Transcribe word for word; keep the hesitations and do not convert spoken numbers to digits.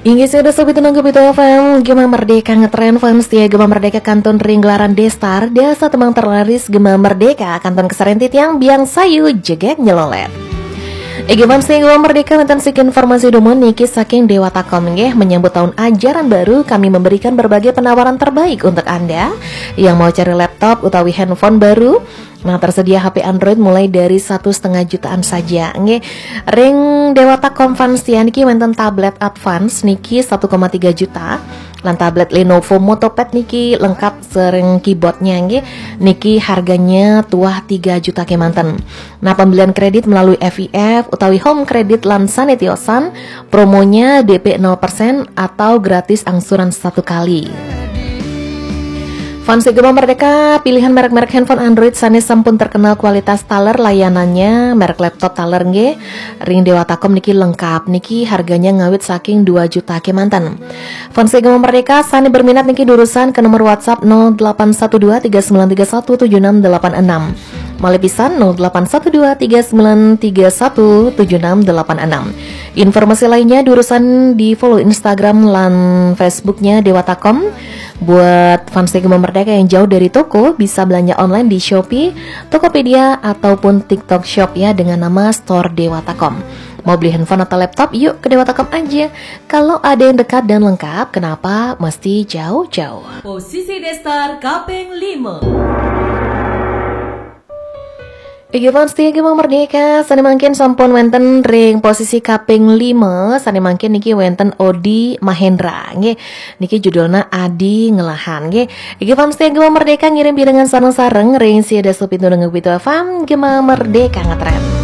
Inggih, sudah sobat tenang Gempita F M, Gema Merdeka ngetren, fans setia Gema Merdeka kantun ring gelaran Destar, dasa tembang terlaris Gema Merdeka kantun kesaren titiang biang sayu jegeg nyelolet. Inggih, fans setia Gema Merdeka, wenten sik informasi dumun niki saking Dewata Com nggih, menyambut tahun ajaran baru kami memberikan berbagai penawaran terbaik untuk Anda yang mau cari laptop utawi handphone baru. Nah, tersedia H P Android mulai dari satu setengah jutaan saja nggih. Ring Dewata Com fans setia niki wenten tablet advance niki satu koma tiga juta. Lan tablet Lenovo MotoPad niki lengkap sareng keyboardnya nggih. Niki harganya tuah tiga juta kemanten. Nah, pembelian kredit melalui F I F utawi home credit lan sane tiosan, promonya D P nol persen atau gratis angsuran satu kali. Fans Gema Merdeka, pilihan merek-merek handphone Android sane sampun terkenal kualitas taler layanannya, merek laptop taler nggih. Ring Dewata Com niki lengkap, niki harganya ngawit saking dua juta kemanten. Fans Gema Merdeka sane berminat niki durusan ke nomor WhatsApp nol delapan satu dua tiga sembilan tiga satu tujuh enam delapan enam. Malih pisan nol delapan satu dua tiga sembilan tiga satu tujuh enam delapan enam. Informasi lainnya durusan di follow Instagram lan Facebooknya Dewata Com. Buat fans Gema Merdeka yang jauh dari toko, bisa belanja online di Shopee, Tokopedia, ataupun TikTok Shop ya, dengan nama Store Dewata Com. Mau beli handphone atau laptop? Yuk ke Dewata Com aja. Kalau ada yang dekat dan lengkap, kenapa mesti jauh-jauh? Posisi Destar kaping lima. Inggih, fans setia Gema Merdeka, sane mangkin sampun wenten ring posisi kaping lima, sane mangkin niki wenten Odi Mahendra nggih. Niki judulna Adi Ngelahan nggih. Inggih, fans setia Gema Merdeka, ngirim pirengan sareng-sareng ring sia dasa pitu nengah pitu F M, Gema Merdeka ngetren.